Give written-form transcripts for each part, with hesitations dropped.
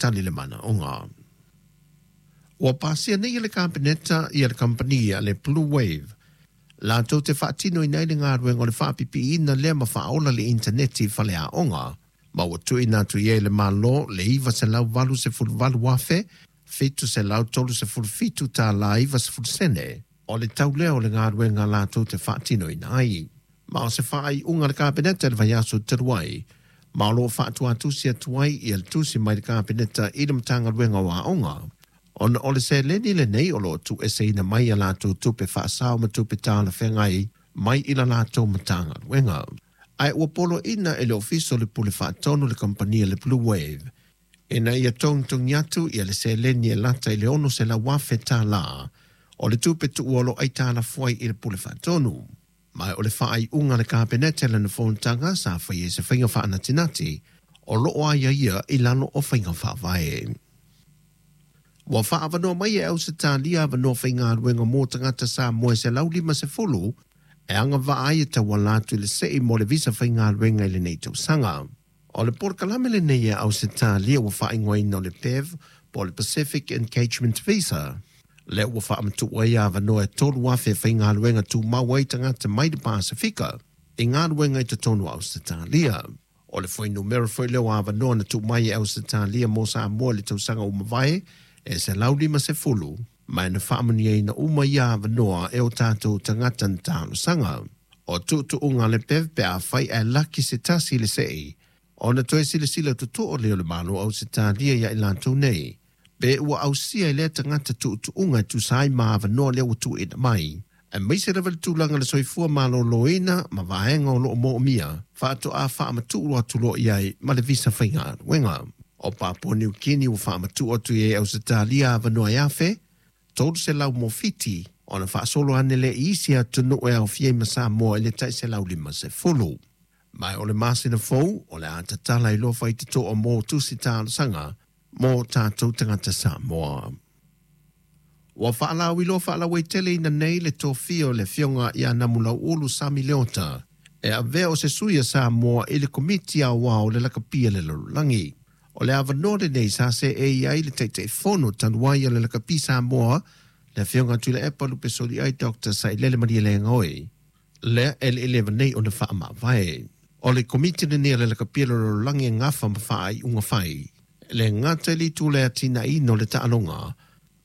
tali le manaoga. Ua pasia nei e le Kapeneta ia le kamupani a le Blue Wave latou te faatinoina ai le galuega o le faapipiiina lea ma faaola le initaneti i faleaoga, ma ua tuuina atu i ai e le Malo le $988,737.90 sene o le tau lea o le galuega latou te faatinoina ai. Ma o se faaiuga a le Kapeneta i le vaiaso talu ai, ma o lo o faatuatusi atu ai ia le tusi mai le Kapeneta i le Matagaluega o Aoga, ona o le seleni lenei o lo o tuueseina mai a latou tupe faasao ma tupe talafeagai mai i la latou Matagaluega. Ae ua poloaiina e le Ofisa o le Pule Faatonu le kamupani a le Blue Wave ina ia togitogi atu ia le seleni e lata i le $600,000 o le tupe tuua o lo o aitalafu ai i le Pule Faatonu. Ma o le faaiuga a le Kapeneta i lana fonotaga sa faia i se faiga faanatinati o lo o aiaia i lalo o faiga faavae. Ua faaavanoa mai e Ausetalia avanoa faigaluega mo tagata Samoa e 150 e agavaa ai e tauala atu i le sei mo le visa faigaluega i lenei tausaga. O le polokalame lenei e Ausetalia ua faaigoaina o le PEV po o le Pacific Engagement Visa, lea ua faamatuu ai avanoa e 3,000 e faigaluega tumau ai tagata mai le Pasefika i galuega i totonu o Ausetalia. O le fuainumera foi lea o avanoa na tuu mai e Ausetalia mo Samoa i le tausaga ua mavae e 150, ma na faamanuiaina uma ia avanoa e o tatou tagata na talosaga. O tuutuuga a le PEV pe afai ae laki se tasi i le sei, ona toe silasila totoa lea o le Malo o Ausetalia ia i latou nei, pe ua ausia e lea tagata tuutuuga e tusa ai ma avanoa lea ua tuuina mai, aemaise lava le tulaga o le soifua maloloina ma vaega o lo o moomia, faatoa faamatuu atu loa i ai ma le visa faigaluega. O Papua Niu Kini ua faamatuu atu i ai e Ausetalia avanoa e 1,300 mo Fiti, ona faasolo ane lea i isi atunuu e aofia ai ma Samoa i le tai 150. Ma o le masina fou o le a tatala ai loa faitotoa mo tusi talosaga mo tatou tagata Samoa. Ua faalauiloa faalauaiteleina nei le tofia o le Afioga ia Namulauulu Sami Leota e avea o se sui a Samoa i le Komiti Aoao o le Lakapi a le Lalolagi. O le avanoa lenei sa seei ai le Taitaifono talu ai o le Lakapi Samoa, le Afioga Tuilaepa Lupesoliai Dr. Sailele Malielegaoi, lea e le i leva nei ona faamavae. O le Komiti lenei o le Lakapi a le Lalolagi e gafa ma faaiuga fai, e le gata i le itu o le atinaeina o le taaloga,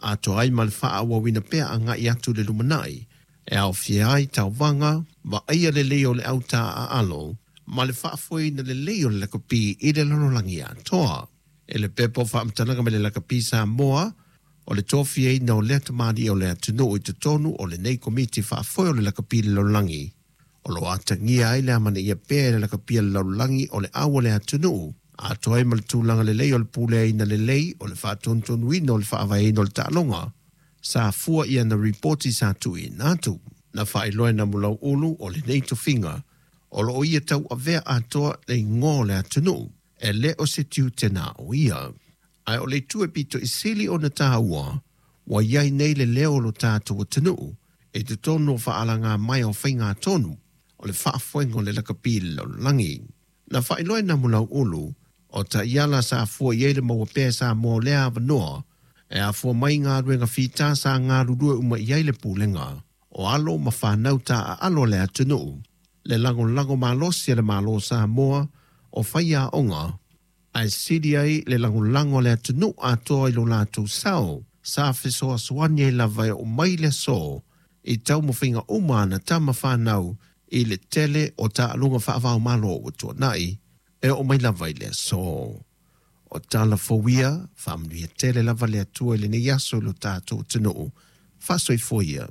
atoa ai ma le faaauauina pea agai atu i le lumanai, e aofia ai tauvaga, vaaia lelei o le au taaalo, ma le faafoeina lelei o le lakapi i le lalolagi atoa. I le pepa o faamatalaga mai le Lakapi Samoa, o le tofiaina o lea tamalii o le atunuu i totonu o lenei Komiti Faafoe o le Lakapi i le Lalolagi, o lo o atagia ai le amanaia pea e le Lakapi a le Lalolagi o le au a le atunuu, atoa ai ma le tulaga lelei o le puleaina lelei o le faatonutonuina o le faavaeina o le taaloga, sa fua i ana ripoti sa tuuina atu. Na faailoa e Namulauulu o lenei tofiga o lo o ia tauavea atoa le igoa o le atunuu, e le o se tiute na o ia. Ae o le itu e pito i sili ona taua, ua i ai nei le leo o lo tatou atunuu i totonu o faalagamaea o faigatonu o le faafoega o le lakapi i le lalolagi. Na faailoa e Namulauulu o taiala sa fua i ai le maua pea e Samoa o lea avanoa e afua mai i galuega fita sa galulue uma i ai le pulega o alo ma fanau taaalo a le atunuu, le lagolago malosi a le Malo o Samoa o faiaoga, ae sili ai le lagolago a le atunuu atoa i lo latou sao sa fesoasoani ai lava e oo mai le aso i taumafaiga uma a ana tama fanau i le tele o taaloga faava-o-Malo ua tuanai e oo mai lava i le aso. O tala fou ia, faamanuia tele lava le Atua i lenei aso i lo tatou atunuu. Faasoifua ia.